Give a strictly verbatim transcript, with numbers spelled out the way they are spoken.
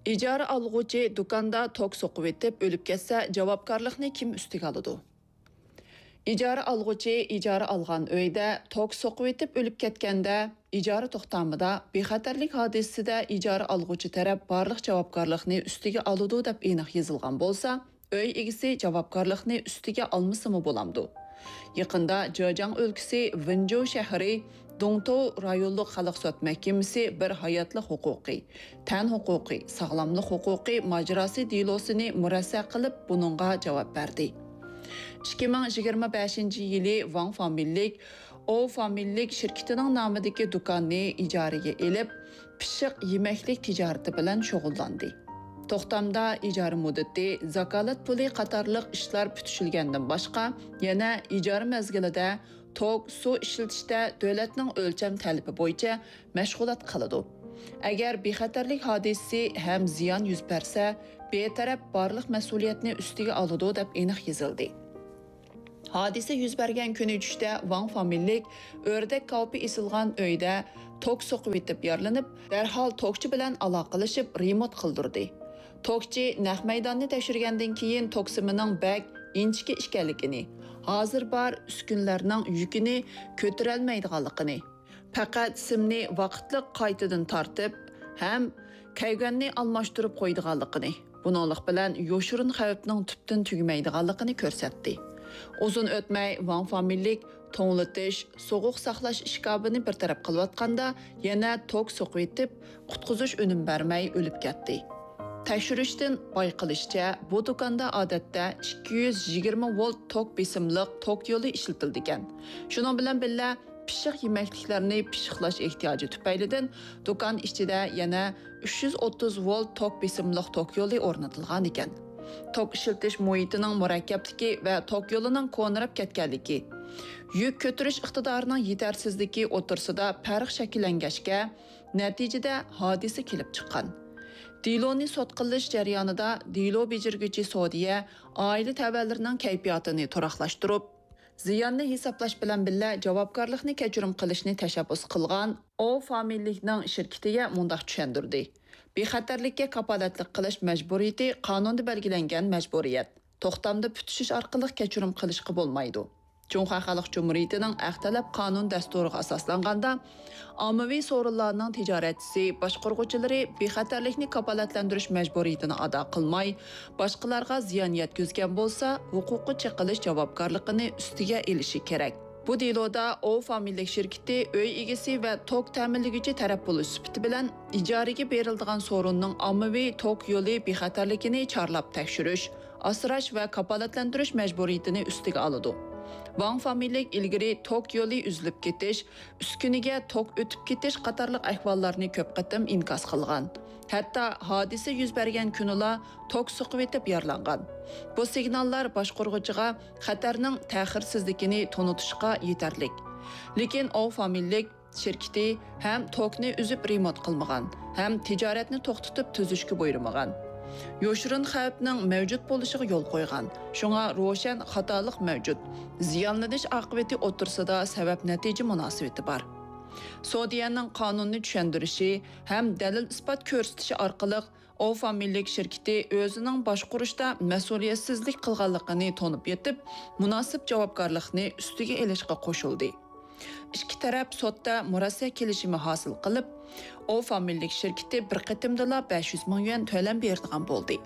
ئىجارە ئالغۇچى دۇكاندا توك سوقۇۋېتىپ ئۆلۈپ كەتسە، جاۋابكارلىقنى كىم ئۈستىگە ئالىدۇ؟ ئىجارە ئالغۇچى ئىجارە ئالغان ئۆيدە توك سوقۇۋېتىپ ئۆلۈپ كەتكەندە، ئىجارە توختامىدا بىخەتەرلىك ھادىسىسىدە ئىجارە ئالغۇچى تەرەپ بارلىق جاۋابكارلىقنى ئۈستىگە ئالىدۇ دەپ ئېنىق يېزىلغان بولسا، ئۆي ئىگىسى جاۋابكارلىقنى ئۈستىگە ئالمىسىمۇ بولامدۇ؟ يېقىندا جېجياڭ ئۆلكىسى ۋېنجۇ شەھىرى دۇڭتۇ رايونلۇق خەلق سوت مەھكىمىسى بىر ھاياتلىق ھوقۇقى، تەن ھوقۇقى، ساغلاملىق ھوقۇقى ماجىراسى دېلوسىنى مۇرەسسە قىلىپ، بۇنىڭغا جاۋاب بەردى. ئىككى مىڭ يىگىرمە بەشىنچى يىلى ۋاڭ فامىلىلىك ئو فامىلىلىك شىركىتىنىڭ نامىدىكى دۇكاننى ئىجارىگە ئېلىپ، پىششىق يېمەكلىك تىجارىتى بىلەن شۇغۇللاندى. توختامدا ئىجارە مۇددىتى، زاكالەت پۇلى قاتارلىق ئىشلار پۈتۈشۈلگەندىن باشقا، يەنە ئىجارە مەزگىلىدە توك، سۇ ئىشلىتىشتە دۆلەتنىڭ ئۆلچەم تەلىپى بويىچە مەشغۇلات قىلىدۇ. ئەگەر بىخەتەرلىك ھادىسىسى ھەم زىيان يۈز بەرسە، بىر تەرەپ بارلىق مەسئۇلىيەتنى ئۈستىگە ئالىدۇ، دەپ ئېنىق يېزىلدى. ھادىسە يۈز بەرگەن كۈنى چۈشتە ۋاڭ فامىلىلىك ئۆردەك كاۋىپى ئېسىلغان ئۆيدە توك سوقۇۋېتىپ يارىلىنىپ، دەرھال توكچى بىلەن ئالاقىلىشىپ رېمونت قىلدۇردى. توكچى نەق مەيداننى تەكشۈرگەندىن كېيىن، توك سىمىنىڭ بەك ئىنچىكە ئىكەنلىكىنى، ھازىر بار ئۈسكۈنىلەرنىڭ يۈكىنى كۆتۈرەلمەيدىغانلىقىنى، پەقەت سىمنى ۋاقىتلىق قايتىدىن تارتىپ ھەم كەيگەننى ئالماشتۇرۇپ قويىدىغانلىقىنى، بۇنىڭلىق بىلەن يوشۇرۇن خەۋپنىڭ تۈپتىن تۈگىمەيدىغانلىقىنى كۆرسەتتى. ئۇزۇن ئۆتمەي ۋاڭ فامىلىلىك توڭلىتىش، سوغۇق ساقلاش ئىشكاپىنى بىر تەرەپ قىلىۋاتقاندا، يەنە توك سوقۇۋېتىپ، قۇتقۇزۇش ئۈنۈم بەرمەي ئۆلۈپ كەتتى. تەكشۈرۈشتىن بايقىلىشىچە، بۇ دۇكاندا ئادەتتە ئىككى يۈز يىگىرمە ۋولت توك بېسىملىق توك يولى ئىشلىتىلىدىكەن. شۇنىڭ بىلەن بىللە، پىششىق يېمەكلىكلەرنى پىششىقلاش ئېھتىياجى تۈپەيلىدىن، دۇكان ئىچىدە يەنە ئۈچ يۈز ئوتتۇز ۋولت توك بېسىملىق توك يولى ئورنىتىلغان ئىكەن. توك ئىشلىتىش مۇھىتىنىڭ مۇرەككەپلىكى ۋە توك يولىنىڭ كونىراپ كەتكەنلىكى، يۈك كۆتۈرۈش ئىقتىدارىنىڭ يېتەرسىزلىكى ئوتتۇرىسىدا پەرق شەكىللەنگەچكە، نەتىجىدە ھادىسە كېلىپ چىققان. دېلونى سوت قىلىش جەريانىدا دېلو بېجىرگۈچى سودىيە ئائىلە تەۋەلىرىنىڭ كەيپىياتىنى تۇراقلاشتۇرۇپ، زىياننى ھېسابلاش بىلەن بىللە، جاۋابكارلىقنى كەچۈرۈم قىلىشنى تەشەببۇس قىلغان ئو فامىلىلىكنىڭ شىركىتىگە مۇنداق چۈشەندۈردى: بىخەتەرلىككە كاپالەتلىك قىلىش مەجبۇرىيىتى قانۇندا بەلگىلەنگەن مەجبۇرىيەت. توختامدا پۈتۈشۈش ئارقىلىق كەچۈرۈم قىلىشقا بولمايدۇ. جۇڭخۇا خەلق جۇمھۇرىيىتىنىڭ ھەق تەلەپ قانۇن دەستۇرىغا ئاساسلانغاندا، ئاممىۋى سورۇنلارنىڭ تىجارەتچىسى، باشقۇرغۇچىلىرى بىخەتەرلىكنى كاپالەتلەندۈرۈش مەجبۇرىيىتىنى ئادا قىلماي، باشقىلارغا زىيان يەتكۈزگەن بولسا، ھوقۇققا چېقىلىش جاۋابكارلىقىنى ئۈستىگە ئېلىشى كېرەك. بۇ دېلودا ئو فامىلىلىك شىركىتى ئۆي ئىگىسى ۋە توك تەمىنلىگۈچى تەرەپ بولۇش سۈپىتى بىلەن ئىجارىگە بېرىلىدىغان سورۇننىڭ ئاممىۋى توك يولى بىخەتەرلىكىنى چارلاپ تەكشۈرۈش، ئاسراش ۋە كاپالەتلەندۈرۈش مەجبۇرىيىتىنى ئۈستىگە ئالىدۇ. ۋاڭ فامىلىلىك ئىلگىرى توك يولى ئۈزۈلۈپ كېتىش، ئۈسكۈنىگە توك ئۆتۈپ كېتىش قاتارلىق ئەھۋاللارنى كۆپ قېتىم ئىنكاس قىلغان. ھەتتا ھادىسە يۈز بەرگەن كۈنىلا توك سوقۇۋېتىپ يارىلانغان. بۇ سىگناللار باشقۇرغۇچىغا خەتەرنىڭ تەخىرسىزلىكىنى تونۇتۇشقا يېتەرلىك. لېكىن ئو فامىلىلىك شىركىتى ھەم توكنى ئۈزۈپ رېمونت قىلمىغان، ھەم تىجارەتنى توختىتىپ تۈزۈشكە بۇيرۇمىغان. يوشۇرۇن خەۋپنىڭ مەۋجۇت بولۇشىغا يول قويغان. شۇڭا روشەن خاتالىق مەۋجۇت. زىيانلىنىش ئاقىۋىتى ئوتتۇرىسىدا سەۋەب نەتىجە مۇناسىۋىتى بار. سودىيەنىڭ قانۇننى چۈشەندۈرۈشى ھەم دەلىل ئىسپات كۆرسىتىشى ئارقىلىق ئو فامىلىلىك شىركىتى ئۆزىنىڭ باشقۇرۇشتا مەسئۇلىيەتسىزلىك قىلغانلىقىنى تونۇپ يېتىپ، مۇناسىپ جاۋابكارلىقنى ئۈستىگە ئېلىشقا قوشۇلدى. ئىككى تەرەپ سوتتا مۇرەسسە كېلىشىمى ھاسىل قىلىپ، ئو فامىلىلىك شىركىتى بىر قېتىمدىلا بەش يۈز مىڭ يۈەن تۆلەم بېرىدىغان بولدى.